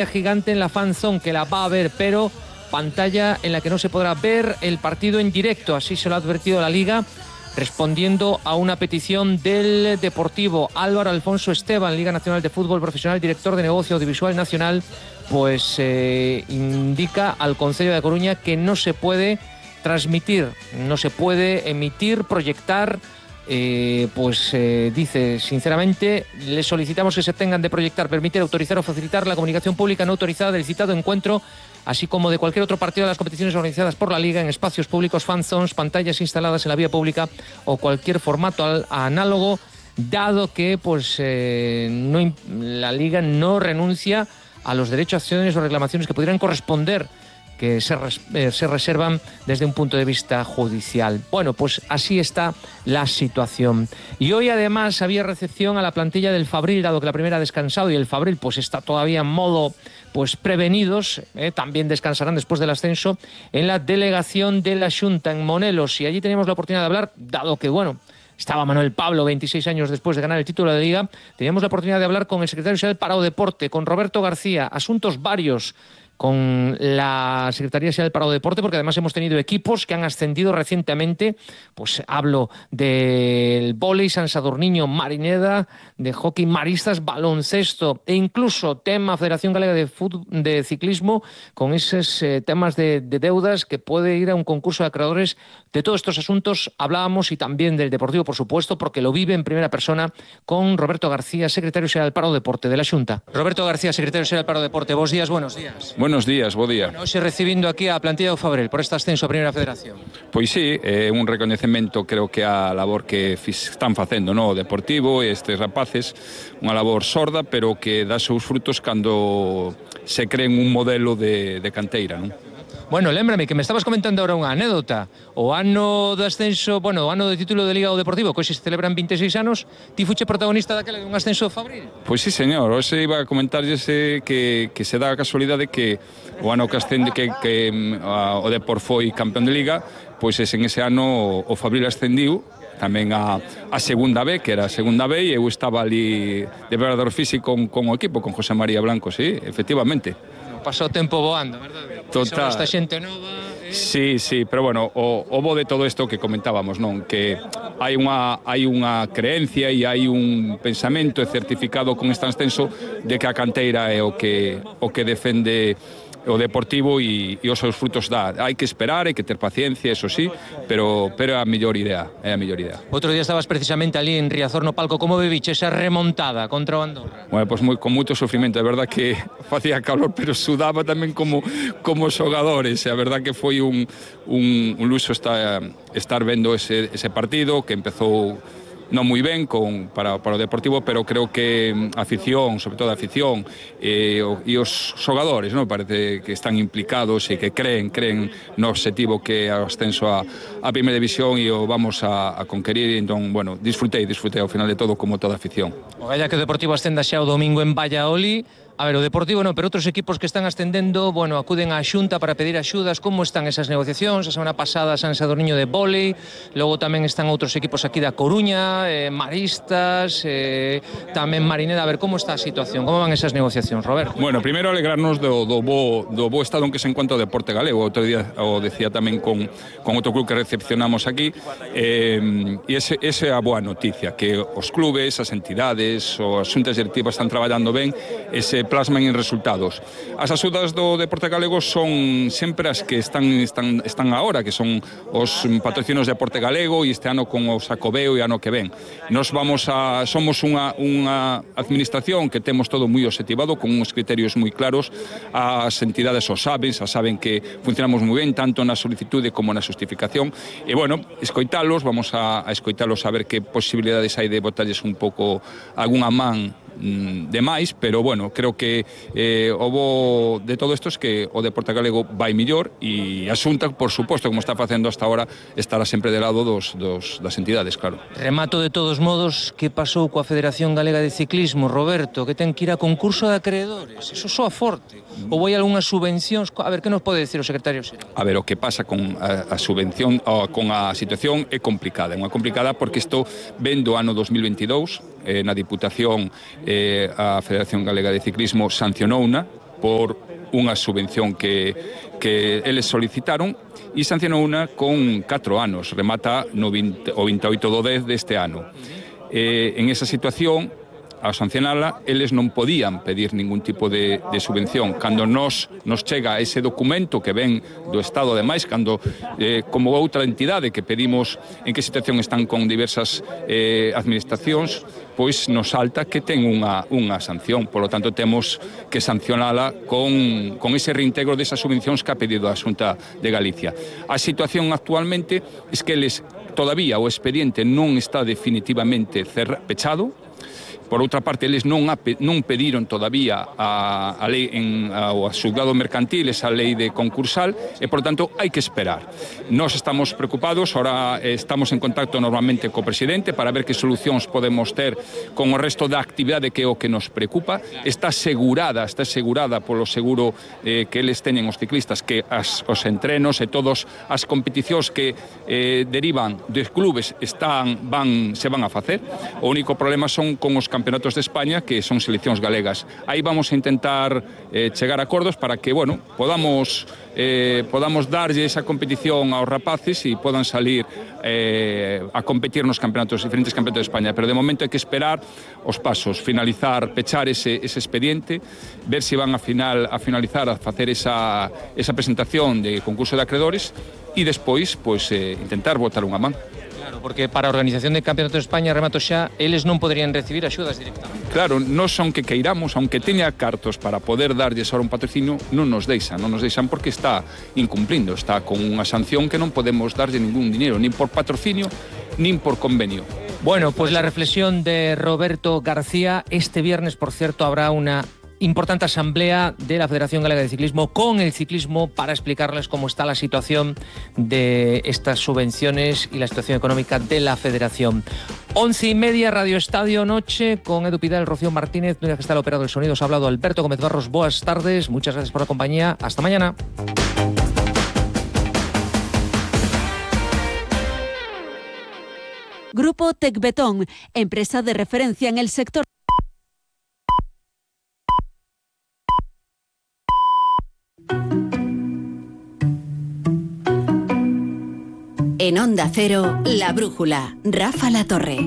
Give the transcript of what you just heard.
gigante en la fan zone que la va a ver, pero pantalla en la que no se podrá ver el partido en directo, así se lo ha advertido la Liga, respondiendo a una petición del Deportivo. Álvaro Alfonso Esteban, Liga Nacional de Fútbol Profesional, director de Negocio Audiovisual Nacional, pues indica al Concello de Coruña que no se puede transmitir, no se puede emitir, proyectar. Dice, sinceramente, le solicitamos que se tengan de proyectar, permitir, autorizar o facilitar la comunicación pública no autorizada del citado encuentro, así como de cualquier otro partido de las competiciones organizadas por la Liga en espacios públicos, fan zones, pantallas instaladas en la vía pública o cualquier formato análogo, dado que la Liga no renuncia a los derechos, acciones o reclamaciones que pudieran corresponder, que se reservan desde un punto de vista judicial. Bueno, pues así está la situación. Y hoy además había recepción a la plantilla del Fabril, dado que la primera ha descansado y el Fabril pues está todavía en modo prevenidos, también descansarán después del ascenso, en la delegación de la Xunta en Monelos. Y allí teníamos la oportunidad de hablar, dado que, estaba Manuel Pablo 26 años después de ganar el título de Liga, teníamos la oportunidad de hablar con el secretario general para o Deporte, con Roberto García, asuntos varios, con la Secretaría General para o Deporte, porque además hemos tenido equipos que han ascendido recientemente. Pues hablo del vóley, San Sadurniño, Marineda, de hockey maristas, baloncesto e incluso tema Federación Galega de Ciclismo, con esos temas de deudas que puede ir a un concurso de acreedores. De todos estos asuntos hablábamos, y también del Deportivo, por supuesto, porque lo vive en primera persona, con Roberto García, secretario General para o Deporte de la Xunta. Roberto García, secretario General para o Deporte, buenos días. Buenos días, bo día. Hoxe recibindo aquí a plantilla do Fabril por este ascenso a Primeira Federación. Pois sí, é un recoñecemento, creo que a labor que están facendo, o Deportivo e estes rapaces, unha labor sorda, pero que dá seus frutos cando se creen un modelo de canteira, non? Bueno, lémbrame que me estabas comentando ahora unha anécdota. O ano do ascenso, o ano do título de Liga do Deportivo, que hoxe se celebran 26 anos, ti fuche protagonista daquela de un ascenso do Fabril? Pois sí, señor, hoxe iba a comentarlles que se dá a casualidade que o ano que ascende o Depor foi campeón de Liga, pois en ese ano o Fabril ascendiu tamén a segunda B, que era a segunda B, e eu estaba ali de preparador físico con o equipo, con José María Blanco, sí, efectivamente. Pasou o tempo voando, verdade? Total. Esta xente nova... Sí, pero o bo de todo isto que comentábamos, non? Que hai unha creencia e hai un pensamento certificado con este ascenso de que a canteira é o que defende o Deportivo e os seus frutos dá. Hai que esperar, hai que ter paciencia, eso sí, pero é a mellor idea, Outro día estabas precisamente ali en Riazor no palco, como viviche esa remontada contra o Andorra? Bueno, pues con moito sufrimento, é verdad que facía calor, pero sudaba tamén como xogadores, e a verdad que foi un luxo estar vendo ese partido, que empezou non moi ben para o Deportivo, pero creo que a afición, sobre todo a afición e os xogadores, non, parece que están implicados e que creen no obxectivo que é o ascenso a Primeira División e o vamos a conquerir. Entón, disfrutei ao final de todo, como toda a afición. O galla que o Deportivo ascenda xa o domingo en Valladolid. A ver, o Deportivo non, pero outros equipos que están ascendendo, acuden á Xunta para pedir axudas. Como están esas negociacións? A semana pasada San Sadurniño de vóley, logo tamén están outros equipos aquí da Coruña, maristas, tamén Marineda. A ver, como está a situación? Como van esas negociacións, Roberto? Bueno, primeiro alegrarnos do bo estado en que se encuentra o deporte galego. Outro día o decía tamén con outro club que recepcionamos aquí, e ese é a boa noticia, que os clubes, as entidades, as xuntas directivas están traballando ben e se plasman en resultados. As axudas do deporte galego son sempre as que están agora, que son os patrocinios de deporte galego, e este ano con o Sacobeo e ano que ven. Somos unha administración que temos todo moi obxectivado, con uns criterios moi claros. As entidades saben que funcionamos moi ben, tanto na solicitude como na justificación, e escoitalos, vamos a escoitalos, a ver que posibilidades hai de botalles un pouco algunha man de máis, pero creo que o bo de todo isto é que o deporte galego vai millor, e a Xunta, por suposto, como está facendo hasta ahora, estará sempre de lado das entidades, claro. Remato de todos modos, que pasou coa Federación Galega de Ciclismo, Roberto, que ten que ir a concurso de acreedores? Eso soa forte. Ou vai algunhas subvencións? A ver, que nos pode decir o secretario xeral? A ver, o que pasa con a subvención, con a situación é complicada. É unha complicada porque isto ven do ano 2022, na Diputación a Federación Galega de Ciclismo sancionouna, por unha subvención que eles solicitaron e sancionou unha con 4 anos, remata no 28 do 10 deste ano. En esa situación, ao sancionala, eles non podían pedir ningún tipo de subvención. Cando nos chega ese documento que ven do Estado, ademais, cando, como outra entidade que pedimos en que situación están con diversas administracións, pois nos salta que ten unha sanción. Por lo tanto, temos que sancionala con ese reintegro desas subvencións que ha pedido a Xunta de Galicia. A situación actualmente é que eles, todavía o expediente non está definitivamente pechado. Por outra parte, eles non pediron todavía a lei ao xulgado mercantil, esa lei de concursal, e, por tanto, hai que esperar. Nós estamos preocupados, ahora estamos en contacto normalmente co presidente para ver que solucións podemos ter con o resto da actividade que é o que nos preocupa. Está asegurada polo seguro que eles teñen os ciclistas, que os entrenos e todas as competicións que derivan dos clubes se van a facer. O único problema son con os campeonatos de España, que son seleccións galegas. Aí vamos a intentar chegar a acordos para que, podamos darlle esa competición aos rapaces e podan salir a competir nos diferentes campeonatos de España. Pero de momento hai que esperar os pasos, pechar ese expediente, ver se van a finalizar a facer esa presentación de concurso de acreedores e despois, intentar botar unha man. Porque para a organización de Campeonato de España, remato xa, eles non poderían recibir axudas directamente. Claro, nós aunque queiramos, aunque teña cartos para poder darlles ahora un patrocinio, non nos deixan porque está incumplindo, está con unha sanción que non podemos darlle ningún dinero, nin por patrocinio, nin por convenio. Bueno, pues la reflexión de Roberto García. Este viernes, por cierto, habrá una importante asamblea de la Federación Galega de Ciclismo con el ciclismo para explicarles cómo está la situación de estas subvenciones y la situación económica de la Federación. 11:30, Radio Estadio Noche, con Edu Pidal, Rocío Martínez, que está el operador del sonido. Os ha hablado Alberto Gómez Barros. Buenas tardes, muchas gracias por la compañía. Hasta mañana. Grupo Tecbetón, empresa de referencia en el sector. En Onda Cero, La Brújula, Rafa La Torre.